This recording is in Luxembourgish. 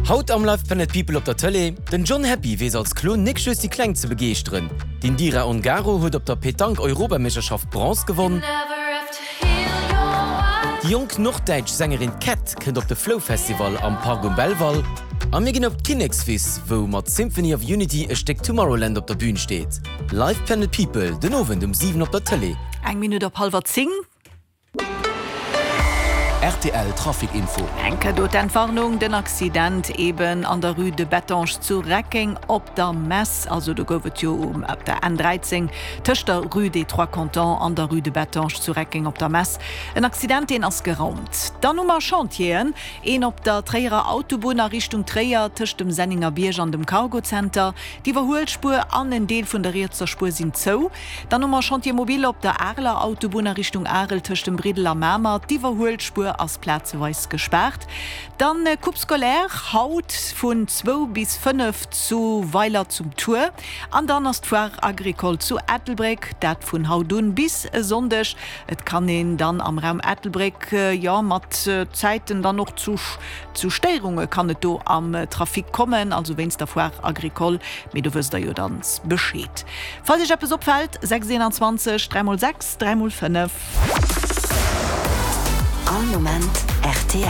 Haut am Live Planet People op der Tëlee, Den John Happy weess als Klon nik just déi Kleng ze begeeschteren. D'Indira Ongaro huet op der Petanque-Europameeschterschaft Bronze gewonn. Déi jonk norddäitsch Sängerin Cat kënnt op de Flow Festival am Park um Belval. A mir ginn op d'Kinnekswiss, wou mat Symphony of Unity e Stéck Tomorrowland op der Bün steet. Live Planet People den Owend um 7 op der Tëlee. Eng Minutt op hallwer 10. Rtl Trafic Info. Enke do d'Entwarnung, den Accident eben an der Rue de Bettange zu Reckeng op der Mess. Also do gouf et jo op der N 13 tëscht der Rue des Trois Cantons an der Rue de Bettange zu Reckeng op der Mess en Accident, deen ass geraumt. Dann hu mer Chantieren, een op der Tréierer Autobunn a Richtung Tréier tëscht dem Senningerbierg an dem Cargozenter. D'Iwwerhuelspuer an en Deel vun der rietser Spuer sinn zou. Dann hu mer Chantier mobile op der Areler Autobunn a Richtung Arel tëscht dem Briddel a Mamer. D'Iwwerhuelspuer ass plazeweis gespaart. Dann Coupe scolaire haut vun zwou bis 5 zu Weiler zum Tuer. An dann ass d'Foire agricole zu Ettelbréck, dat vun haut un bis e Sonndeg. Et kann een dann am Raum Ettelbréck, jo mat Zäiten dann och zu zu Stéierunge kann et do am Trafic kommen, also wéinst der Foire agricole, mee do wësst der jo dann Bescheed. Falls iech eppes opfält, 6 21 3 x 6 3 x 5. All Moment rtl.